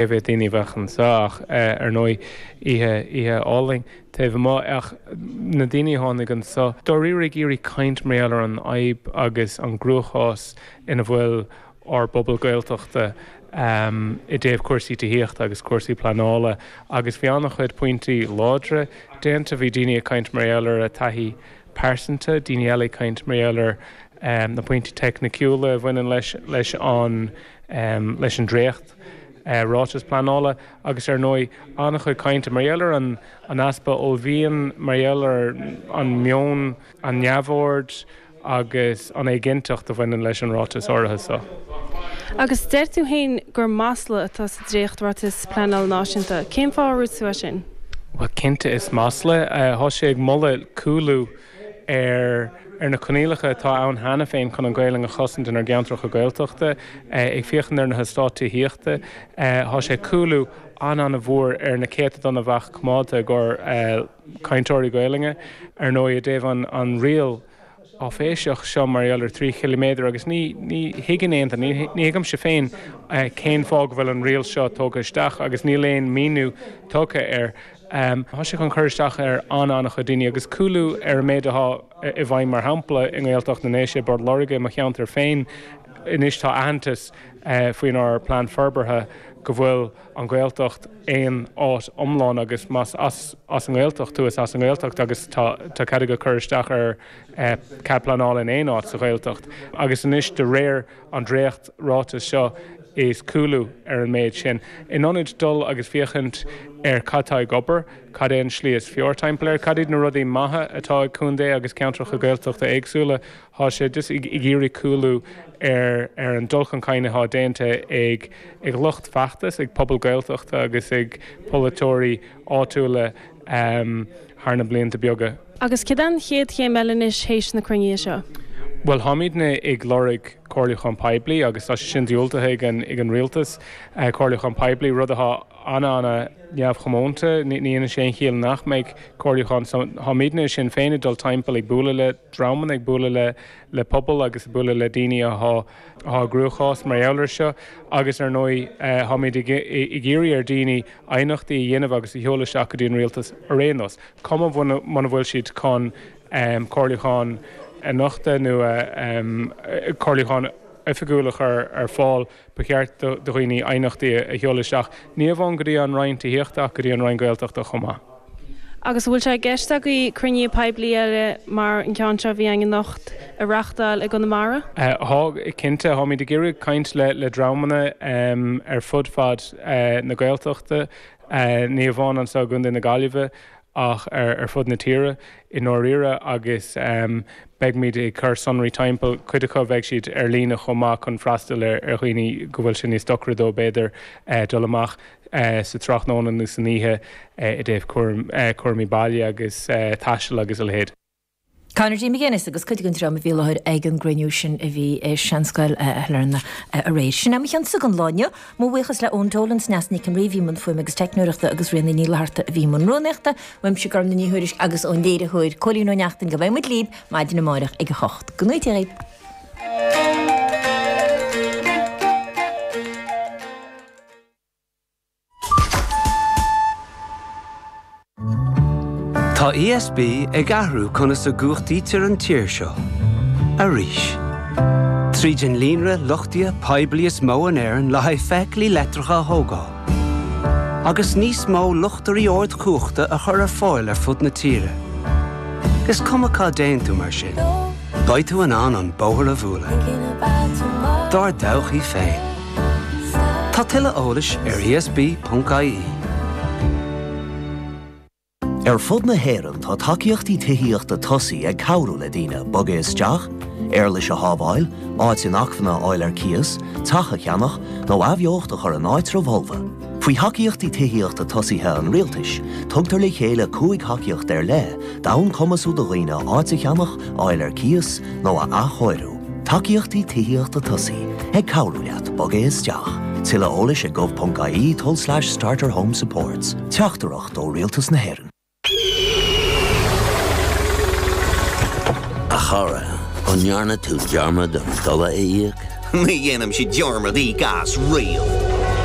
Cé mhéad daoine a bheadh anseo ach ar ndóigh oíche, oíche álainn taobh amuigh ach na daoine a tháinig anseo dáiríre ag iarraidh caint mar gheall ar an fhadhb agus an gcruachás ina bhfuil ár bpobal Gaeltachta i dtaobh cúrsaí tithíochta agus cúrsaí pleanála agus bhí an-chuid pointí láidre déanta. Bhí daoine ag caint mar gheall ar a taithí pearsanta, daoine eile ag caint mar gheall ar na pointí teicniciúla a bhaineann leis leis an leis an dréacht ráiteas pleanála agus ar ndóigh an-chuid cainte mar gheall ar an easpa uaillmhian, mar gheall ar an meon, an neamhaird agus an éiginnteacht a bhaineann leis an ráiteas áirithe seo. Agus deir tú féin gur masla atá sa dréacht-Ráiteas Pleanála Náisiúnta. Cén fáth ar dhúirt tú é sin? Bhuel, cinnte is masla é. Tá sé ag moladh cúlú ar ar na coinníollacha atá ann cheana féin chun an Ghaelainn a chosaint inár gceantracha Gaeltachta, ag féachaint ar na heastáit tithíochta. Tá sé cúlú an-an-mhór ar na céatadáin a bheadh coimeádta i gcomhair cainteoirí Gaelainne, ar ndóigh, i dtaobh an an riail áiféiseach seo mar gheall ar 3 chiliméadar agus ní ní thuigeann aon duine, ní ní thuigimse féin cén fáth go bhfuil an riail seo tógtha isteach agus níl aon míniú tugtha air. Tá sé chun cur isteach ar an-an-chuid daoine agus cúlú ar an méid atá i bhfeidhm mar shampla i nGaeltacht na nDéise, i bPort Láirge, i mo cheantar féin. Anois tá aitheantas faoinár bplean forbartha go bhfuil an Ghaeltacht aon áit iomlán agus más as an nGaeltacht tú is as an nGaeltacht agus tá cead agat cur isteach ar cead pleanála in aon áit sa Ghaeltacht. Agus anois de réir an dréacht ráiteas seo is cúlú ar an méid sin. In ionad dul agus féachaint ar cad tá ag obair, cad é an slí is fearr timpeall air, cad iad na rudaí maithe atá ag contae agus ceantracha Gaeltachta éagsúla, tá sé just ag iarraidh cúlú ar ar an dul chun cinn atá déanta ag ag lucht feachtais, ag pobal Gaeltachta agus ag polaiteoirí áitiúla thar na blianta beaga. Agus céard é an chéad chéim eile anois théis na cruinnithe seo? Bhuel, táimidne ag lorg comhairliúchán poiblí agus tá sé sin diúltaithe ag an ag an rialtas, comhairliúchán poiblí, rud atá an-an-neamhchomónta. Ní dhéanann sé aon chiall nach mbeidh comhairliúchán. So táimidne i Sinn Féin ag dul timpeall ag bualadh le dreamanna, ag bualadh le le pobal agus ag bualadh le daoine atá atá i gcruachás mar gheall air seo agus ar ndóigh táimid ag ag iarraidh ar daoine aighneachtaí a dhéanamh agus a sheoladh isteach go dtí an rialtas ar aon nós. Cuma muna bhfuil siad chun comhairliúchán a nochtadh nó comhairliúchán oifigiúil a chur ar fáil, ba cheart do dhaoine aighneachtaí a sheoladh isteach, ní amháin go dtí an Roinn Tithíochta ach go dtí an Roinn Gaeltachta chomh maith. Agus an bhfuil sé i gceist agaibh cruinnithe poiblí eile mar an ceann seo a bhí againn anocht a reáchtáil i gConamara? Tá, cinnte. Táimid ag iarraidh caint le dreamanna ar fud fad na Gaeltachta. Ní amháin anseo i gContae na Gaillimhe ach ar fud na tíre i ndáiríre agus beimid ag cur sonraí timpeall, cuid acu beidh siad ar líne chomh maith chun freastal ar dhaoine go bhfuil sé níos deacra dóibh b'fhéidir dul amach sa tráthnóna nó san oíche i dtaobh cúraimí baile agus taistil agus a leithéid. Conor D. McGuinness agus cuid den dream a bhí i láthair ag an gcruinniú sin a bhí i Seanscoil Shailearna aréir. Sin é mo chionsa don lá inniu. Mo bhuíochas le Eoin Dolan, Sneasa Nic an Rí a bhí i mbun fuaime agus teicneoireachta agus Ríona Ní Fhlatharta a bhí i mbun rúnaíochta. Uaimse Gormfhlaith Ní Thuairisg agus ón léiritheoir Cóilín Ó Neachtain go mbeidh muid libh maidin amárach ag 8. Go ngnóthaí Dia dhaoibh. Tá ESB ag athrú conas a gcumhachtaítear an tír seo. Arís. Tríd an líonra luchtaithe poiblí is mó in Éirinn le haghaidh feithiclí leictreacha a thógáil. Agus níos mó luchtairí ardchumhachta a chur ar fáil ar fud na tíre. Is cuma cá dtéann tú mar sin, beidh tú in ann an bóthar a bhualadh. Dár dtodhchaí féin. Tá tuilleadh eolais ar esb.ie. Ar fud na hÉireann tá tacaíochtaí tithíochta tosaigh ag cabhrú le daoine bogadh isteach, éarlais a shábháil, áit inacmhainne a fháil ar cíos, teach a cheannach, nó athbheocht a chur in áitreabh fholmha. Faoi Thacaíochtaí Tithíochta Tosaithe an Rialtais, tugtar le chéile 5 thacaíocht ar leith d'fhonn cumasú do dhaoine áit a cheannach, a fháil ar cíos, nó a athchóiriú. Tacaíochtaí Tithíochta Tosaigh, ag cabhrú leat bogadh isteach. Tuilleadh eolais ag gov.ie tulslais starter home supports. Teachtaireacht ó Rialtas na hÉireann. A chara, an ndearna tú dearmad an dola a íoc? Ní dhéanaimse dearmad íoc as riamh.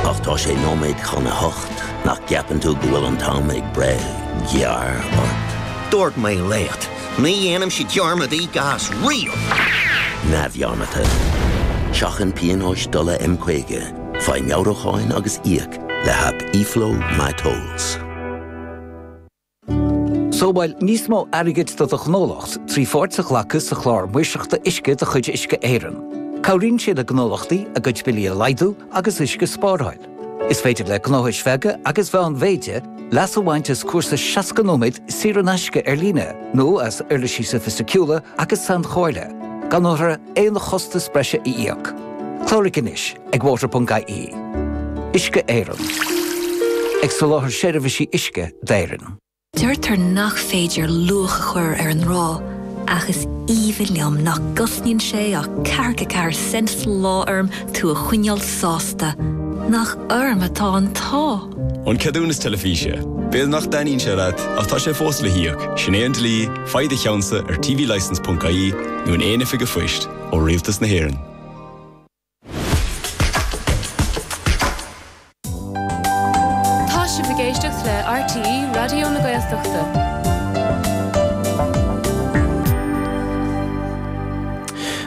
Ach tá sé nóiméad chun a hocht, nach gceapann tú go bhfuil an t-am ag breith gearr ort? Dúirt mé leat, ní dhéanaimse dearmad íoc as riamh! Neamhdhearmadta. Seachain pionóis dola M50, faigh meabhrúcháin agus íoc le haip eFlow MyTolls. Sábháil níos mó airgid do do ghnólacht trí pháirt a ghlacadh sa Chlár Maoirseachta Uisce de chuid Uisce Éireann. Cabhraíonn sé le gnólachtaí a gcuid billí a laghdú agus uisce a spáráil. Is féidir le gnóthais bheaga agus mheánmhéide leas a bhaint as cúrsa 60 nóiméad saor in aisce ar líne nó as uirlisí sofaisticiúla agus sainchomhairle, gan orthu aon chostas breise a íoc. Cláraigh anois ag water.ie. Uisce Éireann. Ag soláthar seirbhísí uisce d'Éirinn. Deirtear nach féidir luach a chur ar an ngrá, ach is aoibhinn liom nach gcosnaíonn sé ach ceathracha ceathair cent sa lá orm tú a choinneáil sásta. Nach orm atá an t-ádh! An ceadúnas teilifíse. B'fhéidir nach dtaitníonn sé leat, ach tá sé fós le híoc. Sin é an dlí, faigh do cheannsa ar tvlicence.ie nó in aon oifig an phoist ó Rialtas na hÉireann. Tá sibh ag éisteacht le RTÉ Raidió na Gaeltachta.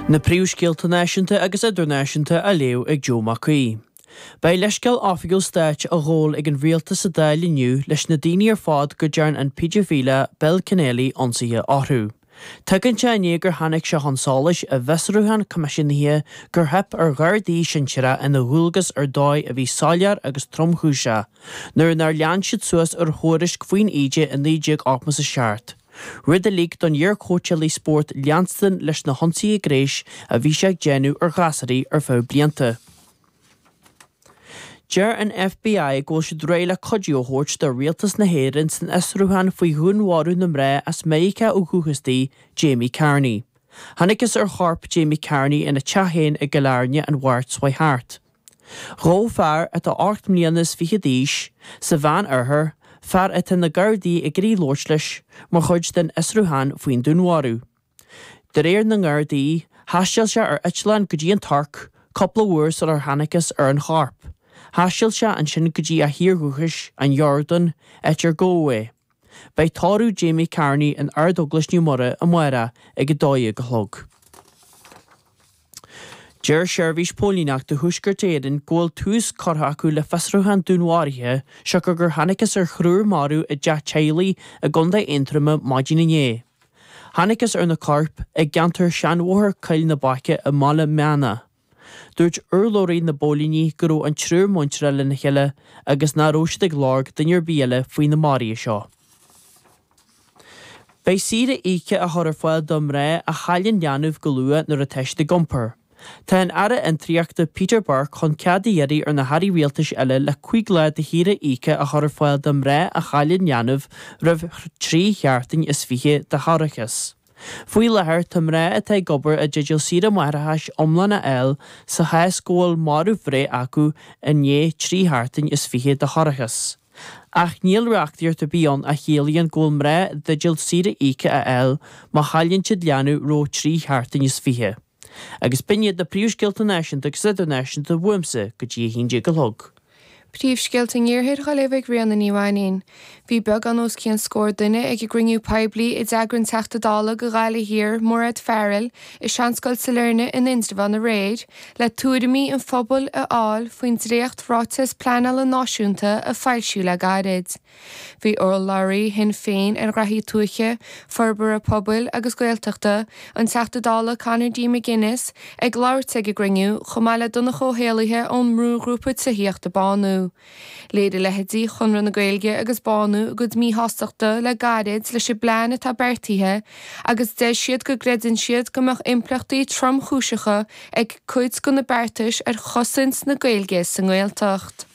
Na príomhscéalta náisiúnta agus idirnáisiúnta á léamh ag Joe Mac Aoidh. Beidh leithscéal oifigiúil stáit á ghabháil ag an rialtas sa Dáil inniu leis na daoine ar fad go dtearn an péidifileach Bill Kennelly ionsaithe orthu. Tagann sé i ndiaidh gur tháinig sé chun solais i bhfiosrúchán coimisiúnaithe gur theip ar ghardaí sinsearacha ina ndualgas ar dóigh a bhí soiléir agus tromchúiseach nuair nár lean siad suas ar thuairisc faoin íde i 1987, rud a lig don iar-chóitseálaí spóirt leanstan leis na hionsaithe gnéis a bhí sé ag déanamh ar ghasúraí ar feadh blianta. Deir an FBI go bhfuil siad réidh le cuidiú a thabhairt do rialtas na hÉireann san fhiosrúchán faoi dhúnmharú na mná as Meiriceá ó dhúchas di, Jamie Carney. Thángthas ar chorp Jamie Carney ina teach féin i gCill Airne an Mháirt seo thart. Gabhadh fear atá 8 mbliana is fiche d'aois, sa Mheán-Oirthear, fear atá na Gardaí ag iarraidh labhairt leis, mar chuid den fhiosrúchán faoin dúnmharú. De réir na nGardaí, thaistil sé ar eitleán go dtí an Tuirc cúpla uair sular thángthas ar an chorp. Thaistil sé ansin go dtí a thír dhúchais, an Iordáin, áit ar gabhadh é. Beidh tórramh Jamie Carney in Ard-Eaglais Naomh Muire amárach ag 12 a chlog. Deir Seirbhís Póilíneachta Thuaisceart Éireann go bhfuil tús curtha acu le fiosrúchán dúnmharaithe siocair gur thángthas ar thriúr marbh i dteach teaghlaigh i gContae Aontroma maidin inné. Thángthas ar na coirp i gceantar Seanbhóthar Coill na Baice i mBaile Meanna. Dúirt urlabhraí na bpóilíní go raibh an triúr muinteartha lena chéile agus nach raibh siad ag lorg duine ar bith eile faoi na maruithe seo. Beidh saoire íoctha á chur ar fáil do mhná a chailleann leanbh go luath nuair atá siad ag iompar. Tá an Aire Fhiontraíochta Peter Burke chun cead a iarraidh ar na hairí rialtais eile le 5 lá de shaoire íoctha a chur ar fáil do mhná a chailleann leanbh roimh thrí sheachtain is fiche de thoircheas. Faoi láthair tá mná atá ag obair i dteideal saoire máithreachais iomlán a fháil sa chás go bhfuil marbhbhreith acu i ndiaidh trí sheachtain is fiche de thoircheas. Ach níl reachtaíocht ar bith ann a chiallaíonn go bhfuil mná i dteideal saoire íoctha a fháil má chailleann siad leanbh roimh thrí sheachtain is fiche. Agus b'in iad na príomhscéalta náisiúnta agus idirnáisiúnta uaimse go dtí a haon déag a chlog. Príomhscéalta an Iarthair á léamh ag Ríona Ní Mhainín. Bhí beagán os cionn scór duine ag an gcruinniú poiblí a d'eagraigh an Teachta Dála do Ghaillimh Thiar, Mairéad Farrell, i Seanscoil Sailearna in Indreabhán aréir, le tuairimí an phobail a fháil faoin dréacht-Ráiteas Pleanála Náisiúnta a foilsíodh le gairid. Bhí urlabhraí Shinn Féin ar ghraithí tuaithe, forbartha pobail agus Gaeltachta, an Teachta Dála Conor D. McGuinness, ag labhairt ag an gcruinniú, chomh maith le Donncha Ó hÉallaithe ón mbrúghrúpa tithíochta Bánú. Léirigh leithéidí Chonradh na Gaeilge agus Bánú a gcuid míshástachta le gairid leis an bplean atá beartaithe agus deir siad go gcreideann siad go mbeadh impleachtaí tromchúiseacha ag cuid de na beartais ar chosaint na Gaeilge sa nGaeltacht.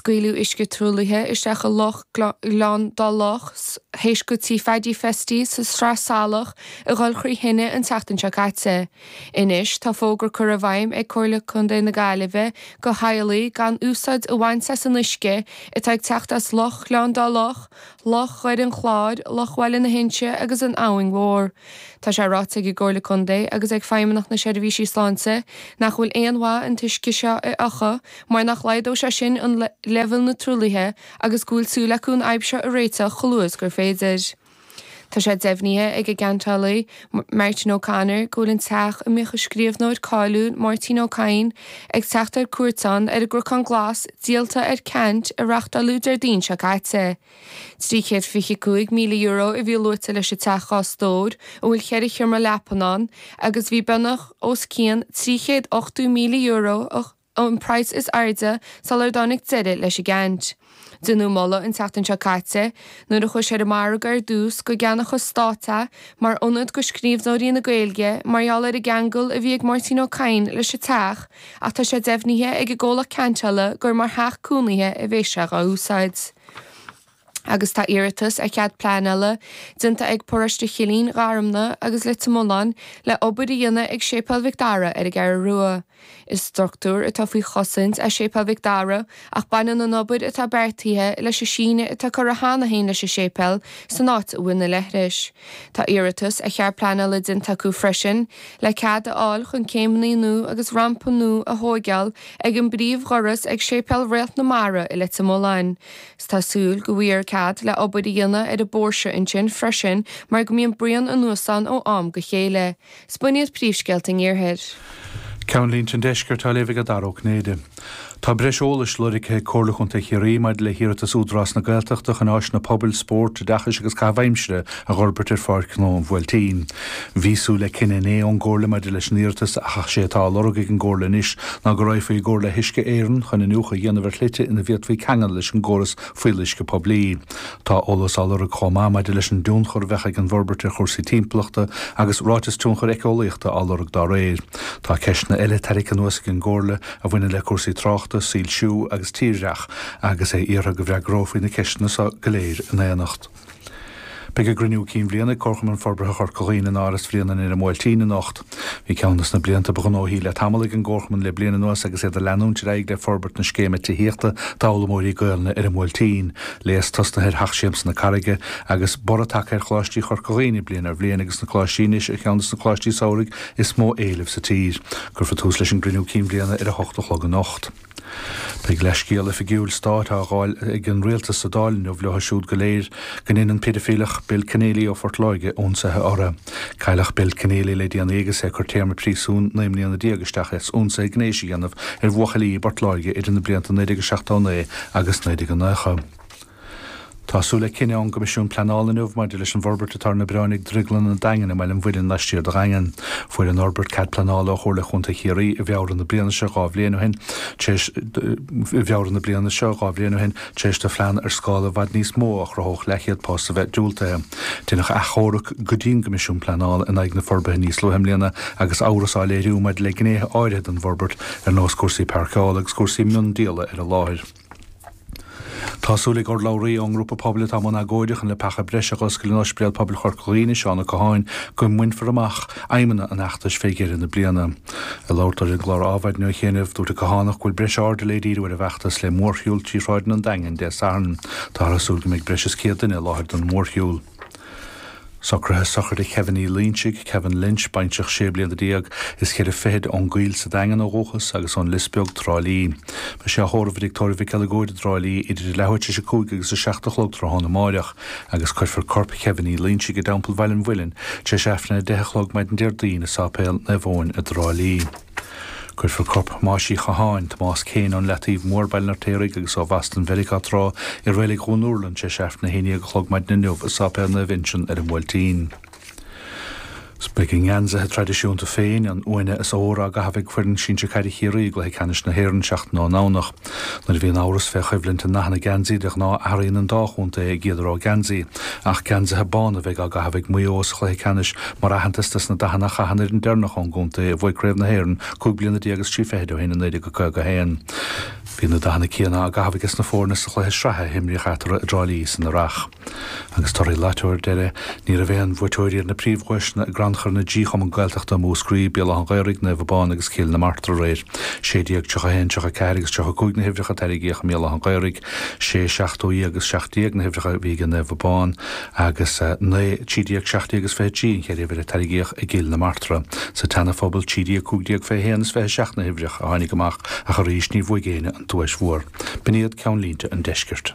Scaoileadh uisce truaillithe isteach i Loch Ghleann Dá Loch théis go Tí Phaidí Festy sa Sraith Salach a dhul thrí thine an tseachtain seo caite. Anois tá fógra curtha i bhfeidhm ag Comhairle Contae na Gaillimhe go theaghlaigh gan úsáid a bhaint as an uisce atá ag teacht as Loch Ghleann Dá Loch, Loch Dhoire an Chláir, Loch Bhaile na hInse agus an Abhainn Mhór. Tá sé ráite ag an gComhairle Contae agus ag Feidhmeannacht na Seirbhísí Sláinte nach bhfuil aon mhaith an t-uisce seo a fhiuchadh mar nach laghdóidh sé sin an leibhéal na truaillithe agus go bhfuil súil acu an fhadhb seo a réiteach chomh luath is gur féidir. Tá sé deimhnithe ag an gceantálaí, Martin O'Connor, go bhfuil an teach a mbíodh an scríbhneoir cáiliúil Máirtín Ó Cadhain ag teacht ar cuairt ann ar an gCnocán Glas díolta ar ceant a reáchtáladh Déardaoin seo caite. €325,000 a bhí luaite leis an teach 2 stór a bhfuil cheithre sheomra leapan ann agus bhí beagnach os cionn €380,000 an praghas is airde sular dtáinig deireadh leis an gceant. Deineadh moladh an tseachtain seo caite, nuair a chuaigh sé ar an margadh ar dtús, go gceannódh an Stát é mar ionad go scríbhneoirí na Gaeilge mar gheall ar an gceangal a bhí ag Máirtín Ó Cadhain leis an teach ach tá sé deimhnithe ag an gcomhlacht ceantála gur mar theach cónaithe a bheas sé dhá úsáid. Agus tá iarratas ar chead pleanála déanta ag Paróiste Chillín, Gharmna agus Leitir Mealláin le obair a dhéanamh ag Séipéal Mhic Dara ar an gCeathrú Rua. Is structúr atá faoi chosaint é Séipéal Mhic Dara ach baineann an obair atá beartaithe leis an síneadh atá curtha cheana féin leis an séipéal san áit a bhfuil na leithris. Tá iarratas ar chead pleanála déanta acu freisin le cead a fháil chun céimeanna nua agus rampa nua a thóigeáil ag an bpríomhdhoras ag Séipéal Réalt na Mara i Leitir Mealláin. 'S tá súil go bhfaighfear cead le obair a dhéanamh ar an bpóirse ansin freisin mar go mbíonn braon anuas ann ó am go chéile. 'S b'in iad príomhscéalta an iarthair. Ceannlínte an Deiscirt á léamh ag Dara Ó Cinnéide. Tá breis eolais lorgtha ag Comhairle Chontae Chiarraí maidir le hiarratas Údarás na Gaeltachta chun áiseanna pobail, spóirt, oideachais agus caitheamh aimsire a dh'fhorbairt ar Pháirc Ghnó an Bhuailtín. Bhí súil le cinneadh inné ón gComhairle maidir leis an iarratas ach sé atá á lorg ag an gComhairle anois ná go raghfaí i gcomhar le hUisce Éireann chun iniúchadh a dhéanamh ar shlite ina bhféadfaí ceangal leis an gcóras fuíolluisce poiblí. Tá eolas á lorg chomh maith maidir leis an dtionchar a bheadh ag an bhforbairt ar chúrsaí timpeallachta agus ráiteas tionchair éiceolaíochta á lorg dá réir. Tá ceisteanna eile tarraingthe anuas ag an gComhairle a bhaineann le cúrsaí tráchta, soilsiú agus tírdhreach agus é iarrtha go bhfreagrófaí na ceisteanna seo go léir in éineacht. Beidh a gcruinniú cinn bhliana ag Comharchumann Forbartha Chorca Dhuibhne in Áras Bhréanainn ar an mBuailtín anocht. Bhí ceann des na blianta ba ghnóthaí le tamall ag an gComharchumann le bliain anuas agus iad ag leanúint ar aghaidh le forbairt na scéime tithíochta d'fhoghlaimeoirí Gaelainne ar an mBuailtín, léas tosnaithe ar Theach Siamsa na Carraige agus borradh tagtha ar Choláistí Chorca Dhuibhne bliain ar bhliain agus na coláistí anois ar cheann des na coláistí samhraidh is mó éileamh sa tír. Cuirfear tús leis an gcruinniú cinn bhliana ar a hocht a chlog anocht. Beidh leithscéal oifigiúil stáit á ghabháil ag an rialtas sa Dáil inniu leo siúd go léir go ndein an péidifileach Bill Kenneally ó Phort Láirge ionsaithe orthu. Cailleadh Bill Kenneally le déanaí agus é ag cur téarma príosúin 19 mbliana isteach as ionsaithe gnéis a dhéanamh ar bhuachaillí i bPort Láirge idir na blianta 1979 agus 1990. Tá súil le cinneadh ón gCoimisiún Pleanála inniu maidir leis an bhforbairt atá ar na bioráin ag Drioglann an Daingin i mBaile an Mhuilinn laistiar de Dhaingean. Fuair an fhorbairt cead pleanála ó Chomhairle Chontae Chiarraí i bhFeabhra na bliana seo 2 bhliain ó shin tar éis i bhFeabhra na bliana seo 2 bhliain ó shin tar éis do phlean ar scála i bhfad níos mó a chruthódh leathchéad post a bheith diúltaithe. Deineadh achomharc go dtí an gCoimisiún Pleanála in aghaidh na forbartha níos luaithe i mbliana agus amhras á léiriú maidir le gnéithe áirithe den bhforbairt ar nós cúrsaí páirceála agus cúrsaí miondíola ar an láthair. Tá súil ag urlabhraí ón ngrúpa pobail atá i mbun agóide chun leapacha breise a dh'oscailt in Ospidéal Pobail Chorca Dhuibhne, Seán Ó Catháin, go mbainfear amach aidhmeanna an fheachtais fé dheireadh na bliana. Ag labhairt dó ar an gclár Adhmhaidin ó chianaibh, dúirt an Cathánach go bhfuil breis airde le díriú ar an bhfeachtas le mórshiúl trí shráideanna an Daingin Dé Sathairn. Táthar ag súil go mbeidh breis is 100 duine i láthair don mhórshiúl. Socruithe sochraide Kevin Uí Loinsigh, Kevin Lynch, baintreach sé bliana déag is cheithre fichid ón gCoill sa Daingean ó dhúchas agus ón Lios Beag, Trá Lí. Beidh sé á thórramh i dTigh Tórraimh Mhic Eileagóid i dTrá Lí idir leathuair tar éis a 5 agus a 7 a chlog tráthnóna amáireach agus cuirfear corp Kevin Uí Loinsigh i dTeampall Bhaile an Mhuilinn tar éis Aifreann a 10 a chlog maidin Déardaoin i Sáipéal Naomh Eoin i dTrá Lí. Cuirfear corp Thomáis Uí Chatháin, Tomás Kane, ón Leataobh Mhór, Baile an Fheirtéaraigh, agus ó Bhoston Mheiriceá tráth, i Reilig Dhún Úrlann tar éis Aifreann a 11 a chlog maidin inniu i Sáipéal Naomh Uinseann ar an mBuailtín. Beidh a ngeansaithe traidisiúnta féin, an uaine is ór, á gcaitheamh ag foireann sinsir caide Chiarraí i gcluiche ceannais na hÉireann seachtain ón nDomhnach. Nuair a bhíonn amhras fé choimhlint i ndathanna geansaí, de ghnáth athraíonn an dá chontae a gcéad rogha geansaí. Ach geansaithe bána a bheidh á gcaitheamh ag Maigh Eo sa chluiche ceannais mar aitheantas dos na dathanna a chaith an fhoireann deireanach ón gcontae a bhuaigh Craobh na hÉireann 15 bliana is 3 fichid ó shin i 1951. Bhí na dathanna céanna á gcaitheamh aige sna foirne sa chluiche sraithe a himríodh eatarthu i dTrá Lí san earrach. Agus torthaí Lató ar deireadh, ní raibh aon bhuaiteoirí ar na príomhdhuaiseanna i gCrannchur na dTrí Chumann Gaeltachta i Múscraí, Béal Átha an Ghaorthaidh, Naomh Abán agus Cill na Martra aréir. 16, 31, 34 agus 35 na huimhreacha a tarraingíodh i mBéal Átha an Ghaorthaidh, 6, 17 agus 17 na huimhreacha a bhí ag Naomh Abán agus 9, 13, 17 agus 23 an cheithre uimhir a tarraingíodh i gCill na Martra. Sa tSeana-Phobal, 13, 15, 21 is 27 na huimhreacha a tháinig amach ach arís níor bhuaigh éinne an duais mhór. B'in iad ceannlínte an deiscirt.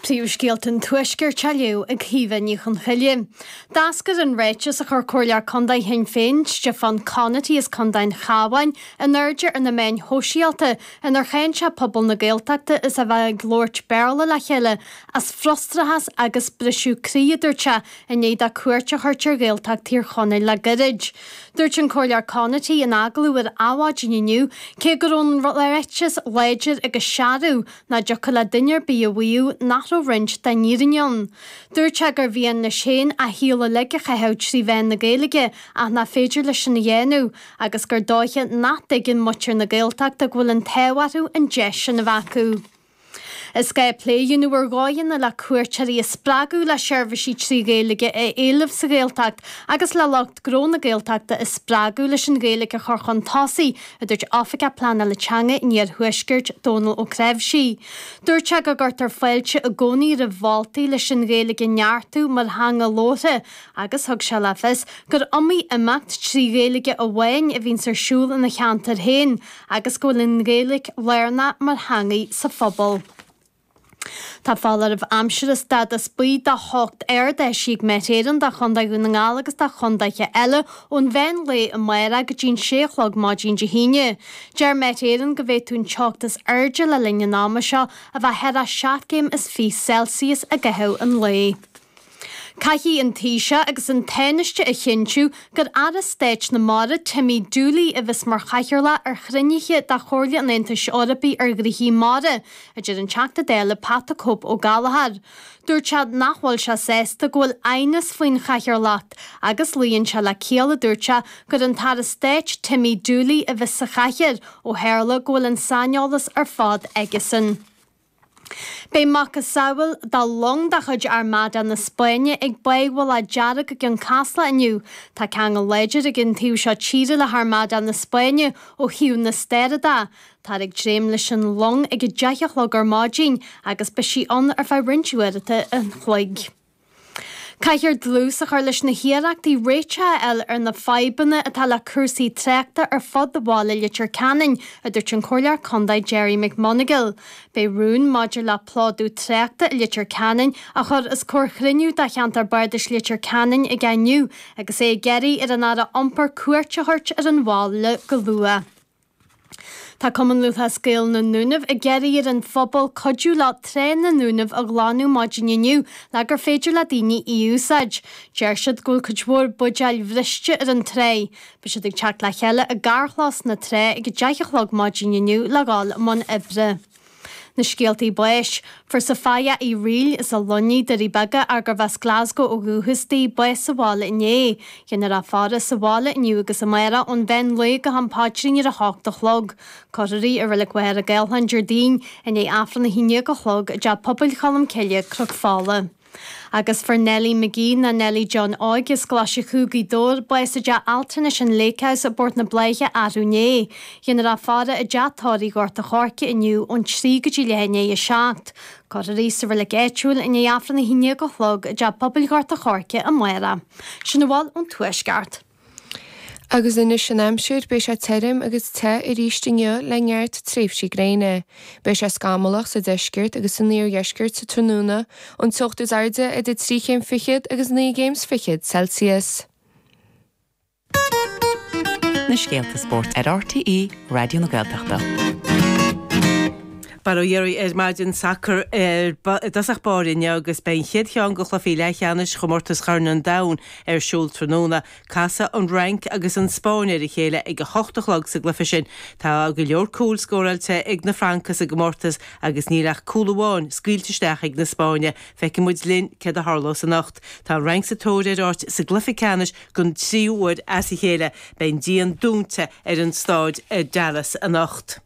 Príomhscéalta an Tuaiscirt á léamh ag Caoimhe Ní Chonchoille. D'eascair an ráiteas a chuir Comhairleoir Contae Shinn Féin, Stiofán Conaty as Contae an Chabháin, in airde ar na meáin shóisialta inar cháin sé pobal na Gaeltachta as a bheith ag labhairt Béarla le chéile as frustrachas agus briseadh croí, a dúirt sé, i ndiaidh dó cuairt a thabhairt ar Ghaeltacht Thír Chonaill le gairid. Dúirt an Comhairleoir Conaty in agallamh ar Adhmhaidin inniu, cé go raibh an ráiteas láidir agus searbh, nach dtiocfadh le duine ar bith a mhaíomh nach raibh roinnt den fhírinne ann. Dúirt sé gur mhian leis féin a shaol uilig a chaitheamh trí mheán na Gaeilge ach nach féidir leis sin a dhéanamh agus gur dóiche nach dtuigeann muintir na Gaeltachta go bhfuil an t-ádh orthu an deis sin a bheith acu. Is gá plé a dhéanamh ar dhóigheanna le cuairteoirí a spreagadh le seirbhísí 3 Ghaeilge a éileamh sa Ghaeltacht agus le lucht gnó na Gaeltachta a spreagadh leis an Ghaeilge a chur chun tosaigh, a dúirt Oifigeach Pleanála Teanga an Iarthuaiscirt, Dónal Ó Cnáimhsí. Dúirt sé go gcuirtear fáilte i gcónaí roimh mholtaí leis an Ghaeilge a neartú mar theanga labhartha agus thug sé le fios gur iomaí imeacht 3 Ghaeilge amháin a bhíonns ar siúl ina cheantar féin agus go bhfuil an Ghaeilge lárnach mar theangaidh sa phobal. Tá foláireamh aimsire stádas buí do theocht ard eisithe ag Met Éireann do Chontae Dhún na nGall agus do chontaetha eile ón mheán lae amárach go dtí'n sé a chlog maidin Dé hAoine. Deir Met Éireann go bhféadfadh an teocht is airde le linn an ama seo a bheith thar 7 gcéim is 20 Celsius i gcaitheamh an lae. Caithfidh an Taoiseach agus an Tánaiste a chinntiú gur Aire Stáit na Mara, Timmy Dooley, a bheas mar chathaoirleach ar chruinnithe de Chomhairle an Aontais Eorpaigh ar Ghnoithí Mara, a deir an Teachta Dála Pat the Cope Ó Gallchóir. Dúirt sé nach bhfuil sé sásta go bhfuil aighneas faoin chathaoirleacht agus luíonn sé le ciall, a dúirt sé, gur an tAire Stáit Timmy Dooley a bheas sa chathaoir ó tharla go bhfuil an saineolas ar fad aigesan. Beidh macasamhail de long de chuid Armada na Spáinne ag Báigh Mhullach Dearg i gCionn Caslach inniu. Tá ceangal láidir ag an taobh seo tíre le hArmada na Spáinne ó thaobh na staire de. Táthar ag dréim leis an long ag 10 a chlog ar maidin agus beidh sí ann ar feadh roinnt uaireanta an chloig. Caithfear dlús a chur leis na hiarrachtaí réiteach a fháil ar na fadhbanna atá le cúrsaí tráchta ar fud bhaile Leitir Ceanainn, a dúirt an Comhairleoir Contae Gerry McMonagall. Beidh rún maidir le plódú tráchta i Leitir Ceanainn á chur os comhair chruinniú de cheantar Bardais Leitir Ceanainn aige inniu agus é ag iarraidh ar an Aire Iompair cuairt a thabhairt ar an bhaile go luath. Tá Cumann Lúthchleas Gael na nDúnaibh ag iarraidh ar an phobal cuidiú leo Trá na nDúnaibh a ghlanadh maidin inniu le gur féidir le daoine í a úsáid. Deir siad go bhfuil cuid mhór buidéil bhriste ar an trá. Beidh siad ag teacht le chéile i gcarrchlós na trá ag 10 a chlog maidin inniu le dhul i mbun oibre. Na scéaltaí báis. Fuair Sophia Uí Fhrighil as an Luinnigh, Doirí Beaga, gurbh as Glasgow ó dhúchas di, bás sa bhaile inné. Déanfar í a fhaire sa bhaile inniu agus amárach ón mheán lae go ham paidrín ar a hocht a chlog. Cuirfear í i Reilig Mhachaire Gathlán Déardaoin i ndiaidh Aifreann 11 a chlog i dTeach Pobail Cholm Cille, Cnoc Fola. Agus fuair Nellie McGee ná Nellie John Óig as Coláiste Chú, Gaoth Dobhair, bás i dteach altranais an Lake House i bPort na Bláiche arú inné. Déanfar í a fhaire i dteach tórraimh Ghort a' Choirce inniu ón 3 go dtí leath i ndiaidh a 7. Cuirfear í sa reilig áitiúil i ndiaidh Aifreann 11 a chlog i dTeach Pobail Ghort a' Choirce amárach. Sin a bhfuil ón Tuaisceart. Agus anois an aimsir, beidh sé tirim agus te arís inniu le neart tréimhsí gréine. Beidh sé scamallach sa deisceart agus san iardheisceart sa tráthnóna, an teocht is airde idir trí chéim fichead agus naoi gcéim 's fichead Celsius. Na scéalta spóirt ar RTÉ Raidió na Gaeltachta. Bail ó Dhia oraibh ar maidin sacar i dtosach báire inniu agus beidh an chéad cheann de chluichí leathcheannais Chomórtas Chorn an Domhain ar siúl tráthnóna. Casfaidh an Fhrainc agus an Spáinn ar a chéile ag a hocht a chlog sa gcluiche sin. Tá go leor cúil scóráilte ag na Francaigh sa gcomórtas agus níl ach cúl amháin scaoilte isteach ag na Spáinnigh. Feicfidh muid linn céard a tharlós anocht. Tá an Fhrainc sa tóir ar áit sa gcluiche ceannais don tríú huair as a chéile. Beidh an díon dúnta ar an staid i Dallas anocht.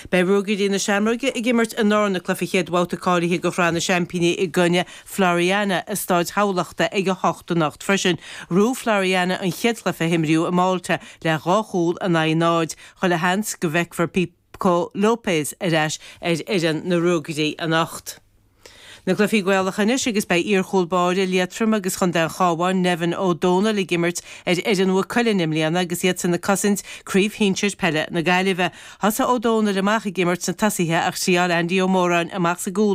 Beidh Ruagairí na Seamróige ag imirt a ndarna cluiche chéad bhabhta cáilithe do Shraith na Seaimpíní i gcoinne Floriana i Stáid Thamhlachta ag 8 anocht freisin. Ghnóthaigh Floriana an chéad chluiche a himríodh i Malta le 2 chúl in aghaidh 0. Chuile sheans go bhfeicfear Pippo Lopez ar ais ar fhoireann na Ruagairí anocht. Na cluichí Gaelacha anois agus beidh iar-chúl báire Liatroim agus Chontae an Chabháin, Nevin Ó Dónaill ag imirt ar fhoireann Mhaigh Cuilinn i mbliana agus iadsan ag cosaint Craobh Shinsir Peile na Gaillimhe. Thosaigh Ó Dónaill amach ag imirt sna tosaithe ach thriáil Andy Ó Móráin amach sa gcúl.